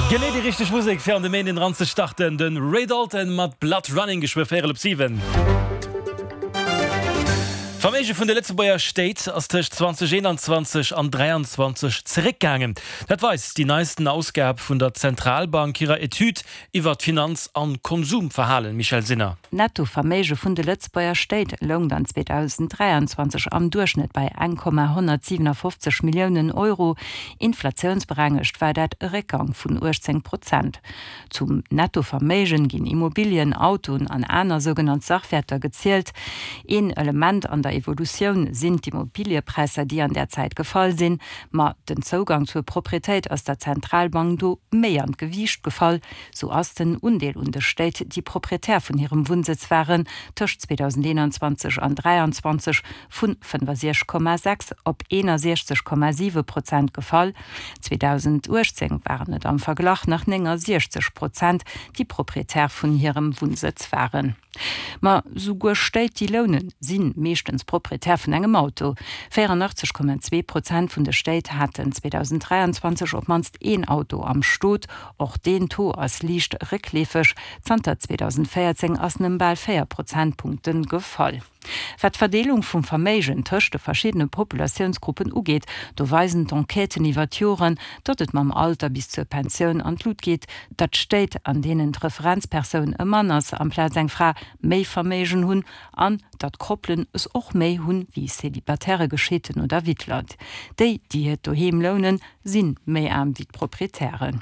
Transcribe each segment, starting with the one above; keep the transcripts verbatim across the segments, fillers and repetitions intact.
Genee déi richteg Musek fir an de Méinden eran ze starten, de Ray Dalton mat Blood Running geschwë véierel op siwen. D'Verméige vun de Lëtzebuerger Stéit ass tëscht zweedausendeenanzwanzeg an dräianzwanzeg zeréckgaangen. Dat weist déi neisten Ausgab vun der Zentralbank hirer Etüd iwwer d'Finanz an Konsumverhalen, Michèle Sinner. D'Nettoverméige vun de Lëtzebuerger Stéit loung dann zweedausenddräianzwanzeg am Duerchschnëtt bei eng Komma honnertsiwenafoffzeg Milliounen Euro, inflatiounsberengegt war dat e Réckgang vun uechtzéng Prozent. Zum Nettoverméigen ginn Immobilien, Autoen an aner sougenannt Sachwäerter gezielt. Een Element an der Evolutioun sinn d'Immobiliëpräisser, déi an där Zäit gefall sinn. Ma den Zougang zur Proprietéit ass der Zentralbank do méi an d'Gewiicht gefall. Sou ass den Undeel un de Stéit, déi Proprietär vun hirem Wunnsëtz waren, tëscht zweedauseneenanzwanzeg an dräianzwanzeg vun fënnefasiechzeg Komma sechs op eenasiechzeg Komma siwe Prozent gefall. zweedausenduechtzéng waren et am Verglach nach néngasiechzeg Prozent, déi Proprietär vun hirem Wunnsëtz waren. Ma souguer Stéit, déi lounen, si meeschtens Proprietär vun engem Auto. véierundaachtzeg Komma zwee Prozent vun de Stéit haten zweedausenddräianzwanzeg op d'mannst een Auto am Stot. Och deen Taux ass liicht réckleefeg, zanter zweedausendvéierzéng ass en ëm bal véier Prozentpunkte gefall. Wat d'Verdeelung vum Verméigen tëscht de verschiddene Populatiounsgruppen ugeet, do weisen d'Enquêten iwwer d'Joren, datt et mam Alter bis zur Pensioun an d'Lut geet, datt d'Stéit, an deenen d'Referenzpersoun e Mann ass amplaz eng Fra, méi Verméigen hunn an datt Koppelen es och méi hunn wéi Célibataire, Gescheeten oder Wittleit. Déi, déi hiert Doheem lounen, si méi aarm wéi d'Proprietären.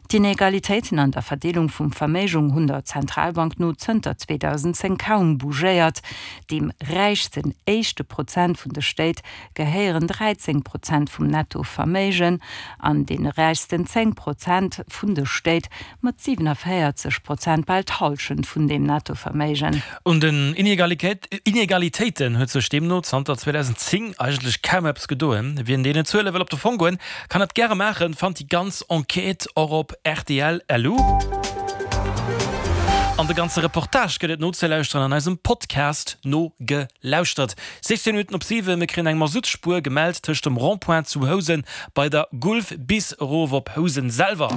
D'Inegalitéiten an der Verdeelung vum Verméigung hunn der Zentralbank no zënter zweedausendzéng kaum bougéiert. Deem räichsten éischte Prozent vun de Stéit gehéieren dräizéng Prozent vum Nettoverméigen an deene räichsten zéng Prozent vun de Stéit mat siwenavéierzeg Prozent bal d'Hallschent vun deem Nettoverméigen. Un den Inegalitéiten huet sech deemno zanter zweedausendzéng eigentlech kaum eppes gedoen. Wien deenen Zuele wëll op de Fong goen, kann dat gäre maachen, fannt déi ganz Enquête och op rtl L U. An de ganze Reportage gëtt et nozelauschteren an eisem Podcast Nogelauschtert. sechzéng Minutten op siwen, mir kréien eng Masuttspuer gemellt tëscht dem Rond-point zu Housen bei der Gulf bis erof op Housen selwer.